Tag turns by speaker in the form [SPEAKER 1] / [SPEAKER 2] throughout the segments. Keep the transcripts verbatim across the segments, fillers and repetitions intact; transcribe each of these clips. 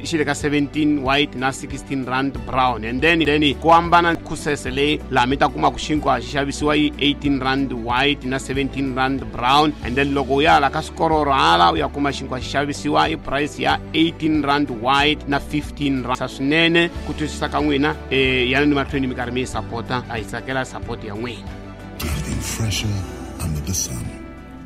[SPEAKER 1] Xi le ka seventeen white na sixteen rand brown. And then then ku hambana kusese leyi laha mi ta kuma ku xinkwa xi xavisiwa yi eighteen rand white na seventeen rand brown. And then loko u ya la ka swikororo hala u ya kuma xinkwa xi xavisiwa i price ya eighteen rand white na fifteen rand. Swinene ku twisisa ka n'wina eh yana ni mahlweni mi karhi mi yi sapota, a hi tsakela support ya n'wina.
[SPEAKER 2] Getting fresher under the sun.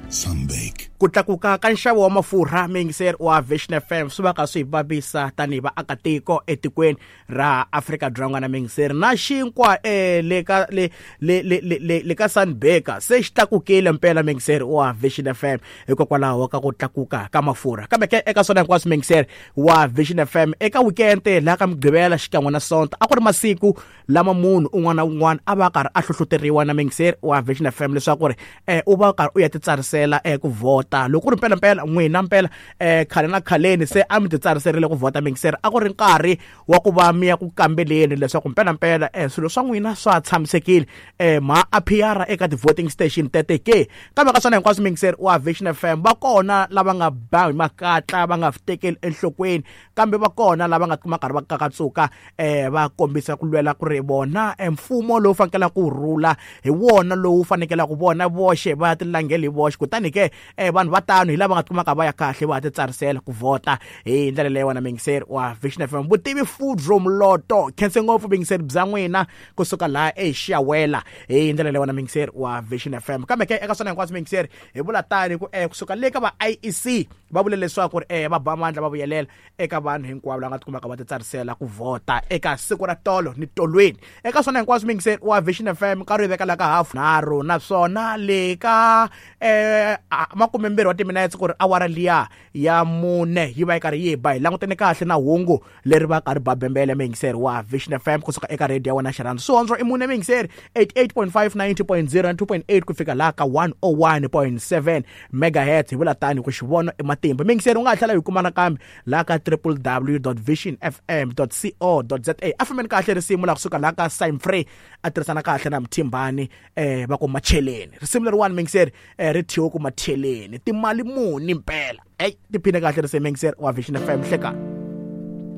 [SPEAKER 2] Sunbake.
[SPEAKER 3] Ku tlakuka ka nxavo wa mafurha muyingiseri wa Vision F M swi va ka swi hi vavisa tanihi vaakatiko etikweni ra Afrika-Dzonga na muyingiseri na xinkwa eh, le ka le le le le le ka Sunbaker se xi tlakukile mpela muyingiseri wa Vision F M hikokwalaho ka ku tlakuka ka mafurha. Kambe ke eka swona hinkwaswo muyingiseri wa Vision F M eka weekend laha ka Mugqivela xikan'we na Sonto a ku ri masiku lama munhu un'wana na un'wana a va karhi a hlohloteriwa na muyingiseri wa Vision F M leswaku ri eh, u va karhi u ya titsarisela eh, ku vhota. Loko ku ri mpela mpela n'wina mpela eh khale na khaleni se a mi titsariserile ku vhota muyingiseri a ku ri nkarhi wa ku va mi ya ku kambeleni leswaku mpela mpela eh swilo swa n'wina swa tshamisekile eh ma appear eka ti-voting station tete ke. Kambe ka swona hinkwaswo muyingiseri wa Vision F M va kona lava nga ba hi makatla va nga tekeli enhlokweni, kambe va kona lava nga kuma nkarhi va kakatsuka eh va kombisa ku lwela ku ri vona mfumo lowu fanekelaka ku rhula hi wona lowu fanekelaka ku vona voxe va tilangela hi voxe. Kutani ke eh vanhu va tano hi lava nga kumaka va ya kahle va titsarisela ku vhota hi ndlela leyi wona muyingiseri wa Vision F M. Vutivi Food Room Lotto khense ngopfu muyingiseri bya n'wina kusuka laha eXiawela hi ndlela leyi wona muyingiseri wa Vision F M. Kambe ke eka swona hinkwaswo muyingiseri hi vula tani ku eh kusuka le ka va I E C va vule leswaku ri eh va ba mandla va vuyelela eka vanhu hinkwavo lava nga tikumaka va titsarisela ku vhota eka siku ra tolo ni tolweni. Eka swona hinkwaswo muyingiseri wa Vision F M nkarhi yi veka la ka hafu nharhu naswona le ka eh makume mbirhi wa timinetse ku ri awara liya ya mune yi va yi karhi yi ba hi langutene kahle na hungu leri va karhi ba bembele muyingiseri wa Vision F M kusuka eka radio ya wena xirhandzu swihondzo i mune muyingiseri eighty-eight point five, ninety point zero na two point eight ku fika laha ka one oh one point seven megahertz. Hi vula tani ku xivono i matimba muyingiseri u nga ha tlhela hi kuma nakambe laha ka w w w dot vision f m dot co dot za. A fambeni kahle risimu laha kusuka laha ka Simon Frey a tirhisana kahle na Mthimbani eh va ku Macheleni. Risimu leriwani muyingiseri eh, ri thyiwe ku Macheleni timali muni mpela. Ey tiphine kahle risimu muyingiseri wa Vision F M hlekani.